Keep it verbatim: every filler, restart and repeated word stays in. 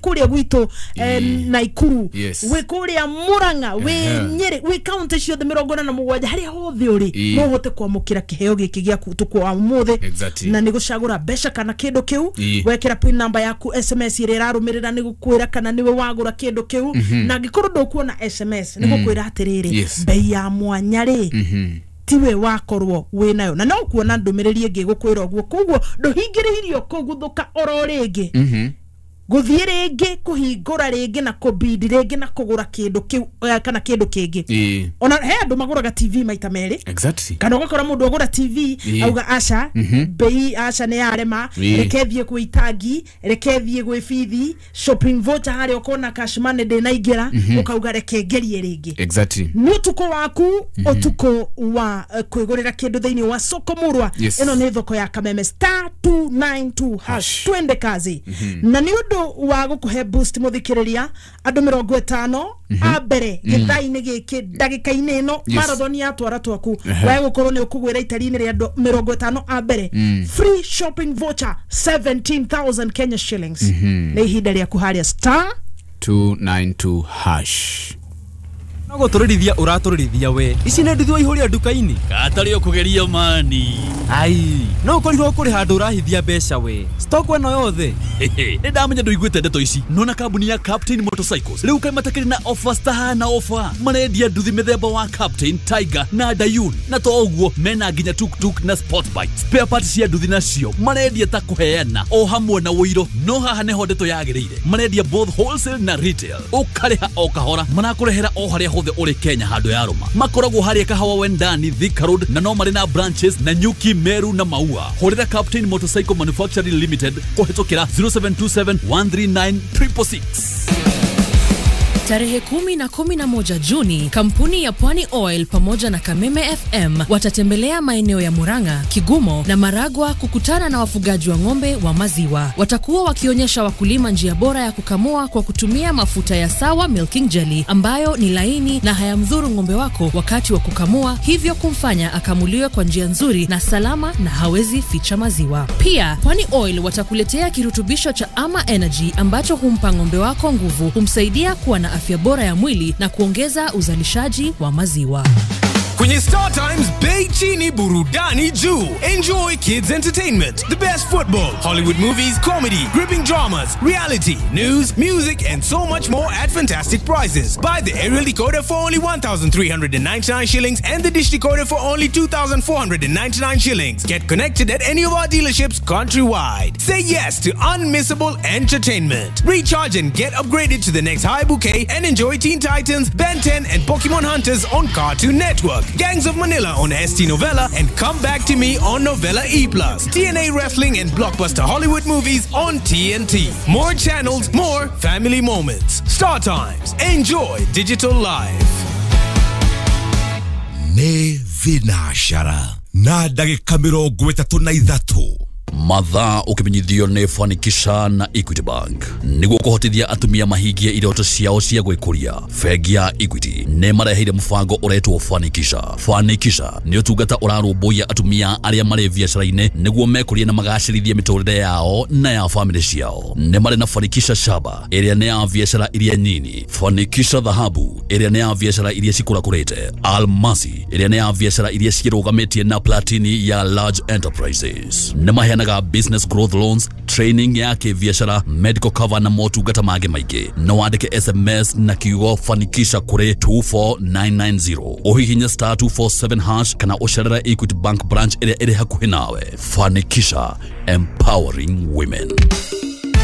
Kuria gwitũ eh, Naikuru, Yes. wĩ kũrĩa Murang'a, wĩ Ehe. Nyĩrĩ, wĩ kaunti ciothe mĩrongo ĩna na mũgwanja, harĩa hothe ũrĩ, Ĩĩ. no ũhote kwamũkĩra kĩheo gĩkĩ gĩaku ũtukũ wa ũmũthĩ. Exactly. Na nĩ gũcagũra mbeca kana kĩndũ kĩu. Ĩĩ. Wekĩra pin number yaku, S M S ĩrĩa ĩrarũmĩrĩra nĩ gũkwĩra kana nĩwe wagũra kĩndũ kĩu. Na angĩkorwo ndũkuona S M S, nĩ gũkwĩra atĩrĩrĩ, Yes. bei ya mwanya rĩ, tiwe wakorwo wĩ nayo, na no kuona ndũmĩrĩri ĩngĩ gũkwĩra ũguo. Koguo ndũhingĩrĩirio kũguthũka oro rĩngĩ, gũthiĩ rĩngĩ kũhingũra rĩngĩ na kũbidi rĩngĩ na kũgũra kĩndũ kĩu eh, kana kĩndũ kĩngĩ. Ĩĩ. Ona he andũ magũraga T V maita merĩ, Exactly. kana ũgakora mũndũ agũra T V, Ĩĩ. auga aca, bei aca nĩ yarema, Ĩĩ. reke thiĩ kwĩ itangi, reke thiĩ gwĩ bithi shopping voucher harĩa ũkona cash money ndĩnaingĩra, ũkauga reke ngerie rĩngĩ. Exactly. Nĩ ũtukũ waku, ũtukũ wa eh, kwĩgũrĩra kĩndũ thĩinĩ wa soko murwa. Yes. Ĩno nĩ thoko ya Kameme, star two nine two hash. Twende kazi. Na nĩ ũndũ wa gũkũhe boost, mũthikĩrĩria, andũ mĩrongo ĩtano a mbere gĩthaa-inĩ gĩkĩ, ndagĩka-inĩ ĩno, Yes. marathon ya twara twaku, wae gũkorwo nĩ ũkũgwĩra itari-inĩ rĩa andũ mĩrongo ĩtano a mbere, free shopping voucher seventeen thousand Kenya shillings. Nĩ ihinda rĩaku harĩa star two nine two hash. No gũtũrĩrithia ũratũrĩrithia we, ici nĩ nduthi waihũria nduka-inĩ. Katarĩ ũkũgeria mani. Ai, no ũkorirwo kũrĩ handũ ũrahithia mbeca we, stock ĩno yothe. Nĩ ndamenya ndũiguĩte ndeto ici. Nona kambuni ya Captain Motorcycles rĩu kaĩ matakĩrĩ na offers tahana offer. Marendia nduthi mĩthemba wa Captain, Tiger na Dayun, na to ũguo mena nginya tuktuk na sport bike. Spare parts cia nduthi nacio marendia ta kũheana, o hamwe na ũiro. No haha nĩho ndeto yagĩrĩire, marendia both wholesale na retail, ũkarĩha o kahora, marakũrehera o harĩa hothe ũrĩ Kenya handũ ya rũma. Makoragwo harĩa Kahawa Wendani, Thika Road, na no marĩ na branches na Nyuki, Meru na Maua. Hũrĩra Captain Motorcycle Manufacturing Limited kũhĩtũkĩra zero seven two seven one three nine six six six. Tarehe kumi na kumi na moja Juni, kampuni ya Pwani Oil pamoja na Kameme F M watatembelea maeneo ya Murang'a, Kigumo na Maragua kukutana na wafugaji wa ng'ombe wa maziwa. Watakuwa wakionyesha wakulima njia bora ya kukamua kwa kutumia mafuta ya Sawa Milking Jelly ambayo ni laini na hayamdhuru ng'ombe wako wakati wa kukamua, hivyo kumfanya akamuliwe kwa njia nzuri na salama na hawezi ficha maziwa. Pia Pwani Oil watakuletea kirutubisho cha Ama Energy ambacho humpa ng'ombe wako nguvu, humsaidia kuwa na afya bora ya mwili na kuongeza uzalishaji wa maziwa. Kwenye Star Times, bei chini, burudani juu. Enjoy kids entertainment, the best football, Hollywood movies, comedy, gripping dramas, reality, news, music, and so much more at fantastic prices. Buy the aerial decoder for only one thousand three hundred ninety-nine shillings and the dish decoder for only two thousand four hundred ninety-nine shillings. Get connected at any of our dealerships countrywide. Say yes to unmissable entertainment. Recharge and get upgraded to the next high bouquet and enjoy Teen Titans, Ben ten, and Pokemon Hunters on Cartoon Network, Gangs of Manila on S T Novella, and Come Back to Me on Novella E plus. T N A Wrestling and blockbuster Hollywood movies on T N T. More channels, more family moments. Star Times. Enjoy digital life. Nĩ thinacara na ndagĩka mĩrongo ĩtatũ na ithatũ. Mathaa ũkĩmenyithio nĩ Fanikisha na Equity Bank. Nĩguo kũhotithia atumia mahingie iroto ciao cia gwĩkũria, bengi ya Equity nĩ mareheire mũbango ũretwo Fanikisha. Fanikisha nĩ ũtungata ũrarũmbũiya atumia arĩa marĩ biacara-inĩ nĩguo mekũrie na magacĩrithie mĩtũrĩre yao na ya famĩlĩ ciao. Nĩ marĩ na Fanikisha Shaba ĩrĩa nĩ ya biacara iria nyini, Fanikisha Dhahabu ĩrĩa nĩ ya biacara iria cikũrakũrĩte, Almasi ĩrĩa nĩ ya biacara iria ciĩrũgamĩtie na Platini ya large enterprises. Nĩ maheanaga business growth loans, training ya kĩbiacara, medical cover na motungata mangĩ maingĩ. No wandĩke S M S na kiugo Fanikisha kũrĩ two four nine nine zero, ũhihinye star two four seven hash kana ũcerere Equity Bank branch ĩrĩa ĩrĩ hakuhĩ nawe. Fanikisha, empowering women.